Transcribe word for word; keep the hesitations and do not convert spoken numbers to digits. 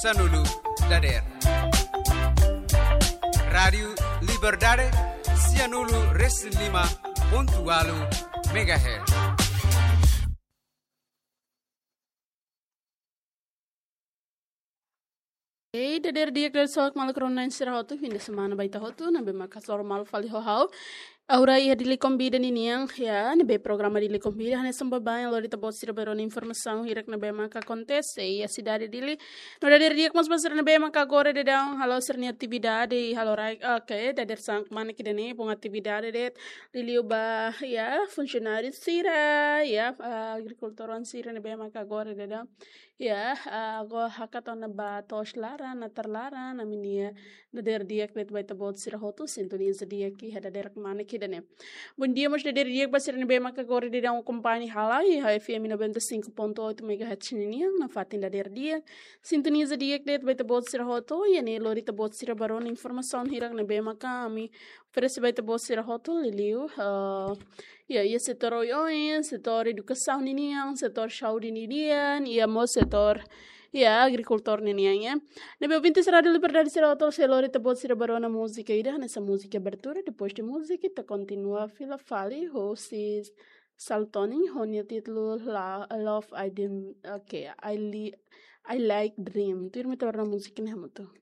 Sanulu dader. Rádiu Liberdade, sianulu resin lima pontu ualu megahertz. Ei, dader di'ak, dader soak maluk rona sira hotu, fim de semana ba ita hotu, ne'ebé maka hasoru malu fali ho ha'u. Agora iha Dili Konvida ninian, ya, ne'ebé programa Dili Konvida, hanesan baibain lori ita-boot sira ba rona informasaun hirak ne'ebé maka akontese iha sidade Dili. No dader di'ak mós ba sira ne'ebé maka agora daudaun halo sira-nia atividade, halo rai, oke, dader san kmanek ida-ne'e, bom atividade de'it, liuliu ba, ya, funsionáriu sira, ya, ah, agrikultór sira ne'ebé maka agora daudaun. Ya, ah, agora hakat ona ba to'os laran, natar laran, ami-nia dader di'ak de'it ba ita-boot sira hotu, sintoniza di'ak iha dadeer kmanek ida-ne'e. Bom dia mós dader di'ak ba sira ne'ebé maka agora daudaun akompaña hela iha F M noventa e cinco ponto oito megahertz ninian, nafatin dader di'ak. Sintoniza di'ak de'it ba ita-boot sira hotu, iha ne'e lori ita-boot sira ba rona informasaun hirak ne'ebé maka ami oferese ba ita-boot sira hotu, liuliu, ah, ya, iha setór oioin, setór edukasaun ninian, setór saúde ninian, iha mós setór, ya, agrikultór ninian, ya. Ne'ebé ouvintes Rádiu Liberdade sira hotu, sei lori ita-boot sira ba rona múzika ida, hanesan múzika abertura, depois de múzika, ita kontinua fila fali, husi Saltoni, ho nia títulu La-, Love I Dream, oke, I Li-, I Like Dream. Tuirmai ita ba rona múzika ne'e hamutuk.